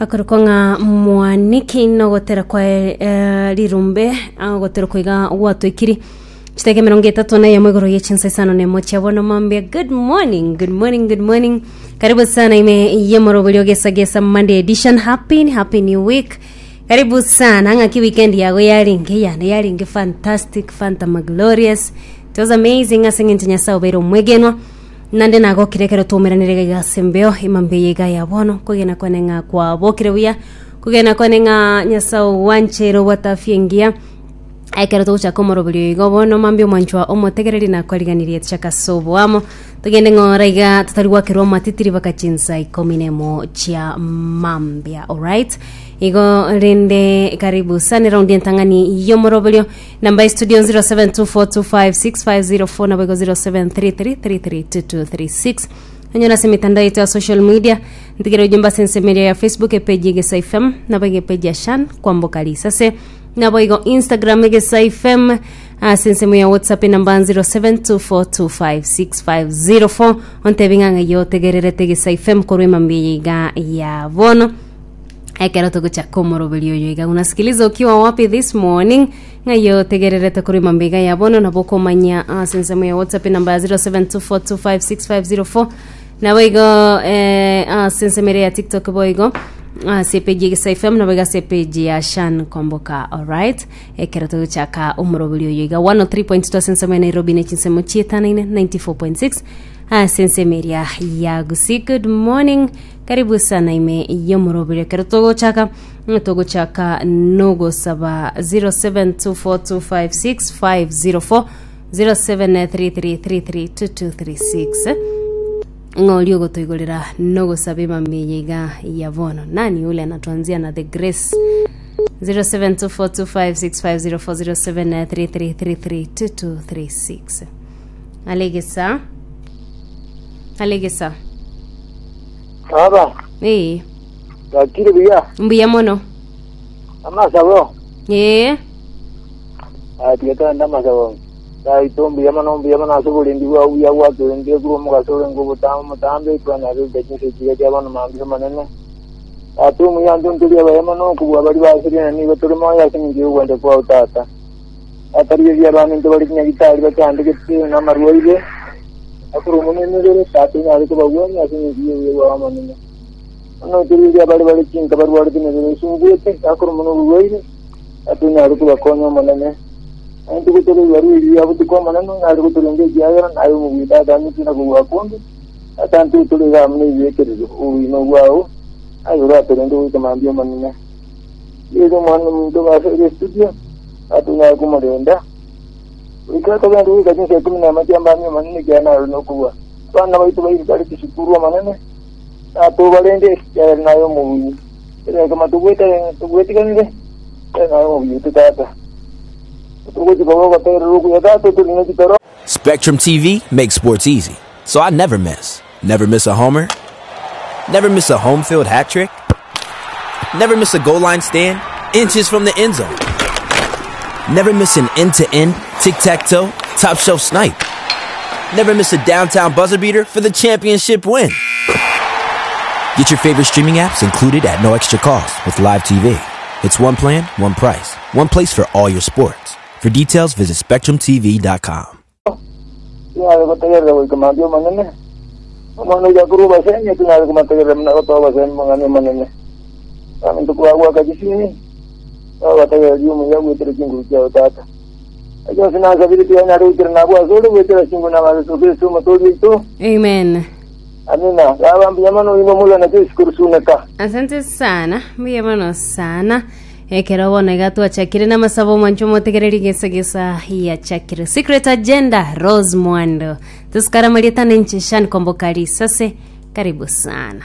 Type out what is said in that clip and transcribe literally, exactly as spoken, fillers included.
Akorokwa ng'a mwaniki nogotera kwa eh, rirumbe agotera koiga gwatwekiri chiteke emerongo etato na eyemo igoro ye chinsa isano na emo chia bono mambia. Good morning, good morning, good morning. Karibu sana ime yemoroberio Gesa Gesa Monday edition. Happy, happy new week. Karibu sana. Ng'aki weekend yago yarenge? Yane yarenge fantastic, fantama glorious. It was amazing ase ng'encho Nyasaye obeire omwegenwa nande nagokire ekero twaumeranire iga ase embeo emambia iga ya bono. Kogena kwane ng'a kwabokire buya, kogena kwane ng'a Nyasaye ogwanchere obwate afya engiya ekero togochaka omoroberio igo bono mambia. Omwanchwa omotegereri, nakwariganirie tichaka ase oboamo togende ng'ora iga tutari gwakerwa amatitiri baka chinsa ikomi na emo chia mambia. Alright, igo rende karibu sana raundi entang'ani y'omoroberio. Namba ya studio zero seven two four two five six five zero four nabo igo zero seven three three three three two two three six. Onyora ase emitandao yetu ya social media, ntigere ujumbe ase ensemeria ya Facebook epage Egesa F M nabo igo epage ya Shan Kwamboka Risase nabo igo Instagram Egesa F M. Ase ensemo ya WhatsApp enamba zero seven two four two five six five zero four. Ontebi ng'a ng'ai otegererete Egesa F M korwa emambia iga ya bono ekero togochaka omoroberio oyo iga. Unasikiliza ukiwa wapi this morning? Ng'ai otegererete korwa emambia iga ya bono? Nabo okomanya ase ensemo ya WhatsApp enamba ya zero seven two four two five six five zero four nabo igo eh, ase ensemo ere ya TikTok boigo ase epage Egesa F M nabo igo ase epage ya Shan Kwamboka. Alright, ekero togochaka omoroberio oyo iga, one oh three point two ase ensemo ya Nairobi ne chinsemo chietanaine, ninety-four point six ase ensemo eria ya Gusii. Good morning, karibu sana ime y'omoroberio. Ekero togochaka mm, togochaka nogosaba zero seven two four two five six five zero four, zero seven three three three three two two three six. Ng'ori ogotoigorera nogosaba emambia iga ya bono? Nani ule anatuanzia na the grace? zero seven two four two five six five zero four, zero seven three three three three two two three six. Alegesa, alegesa. Baba, ee. Gakire buya, mbuya mono. Amasabo, ee. Atigatanda amasabo. Taito mbuya mono, mbuya mono ase oborendi bwao buya bwatorendire korwa omogaso orenge obotambe omotambe twanarete chinse chiga chia bono mambia omonene. Tata omuya nto abaye mono okobua bari basirina nigo tore moyo ase eng'encho ya ogwanja kwao tata. Tata rigeria abana into bari kinyagitari bachandegete n'amarwaire akorwa mono emebere tata onyare kobagwenia ase eng'encho ya obuya bwao omonene. Bono torigeria abare bare chinka barwarete emebere esumbuete akorwa mono oborwaire tata onyare kobakonya omonene. Naintwe gotorerwa rwiri abutuko omonene onyare gotorenda ekiagera naye omobui tata amitina kobua konde tata ntwe torega amo nebibekerero obuino bwao aye oratorende goika mambia omonene. Rero omwana omonto basoire studio tata onyare komorenda goika togende goika chinsa ikomi na emo chia mbamia omonene ekiagera naro nokobua. Abana baito baire chisukuru omonene tata obarende ekiagera naye omobui erekama tobwetiganire ekiagera naye omobui oito tata togochika gogoterera okuya tata otorine chitoro. Spectrum T V makes sports easy, so I never miss. Never miss a homer. Never miss a home field hat trick. Never miss a goal line stand inches from the end zone. Never miss an end to end, tic tac toe, top shelf snipe. Never miss a downtown buzzer beater for the championship win. Get your favorite streaming apps included at no extra cost with Live T V. It's one plan, one price, one place for all your sports. For details, visit Spectrum T V dot com. Tunyare gotegerera goika mambia omonene omwana oja korwa obasenye tunyare komategerera muna gotoa obasenye mang'ana omonene aminto kwagwaka chisimi babategereria omuya gwetera chinguru chiao tata ekio sinasabire tianyare gwikera nabwo ase ore gwetera chingu na mageso Kristo omotori oito. Amen. Amina baba mbuya mono ino omulana chesikuru suneka. Asante sana, mbuya mono sana. Ekero bono iga twachakire n'amasabo omwancho omotegereri Gesa Gesa yachakire. Secret Agenda, Rose Mwando. Tusikara marieta nenche Shan Kwamboka Risase. Karibu sana.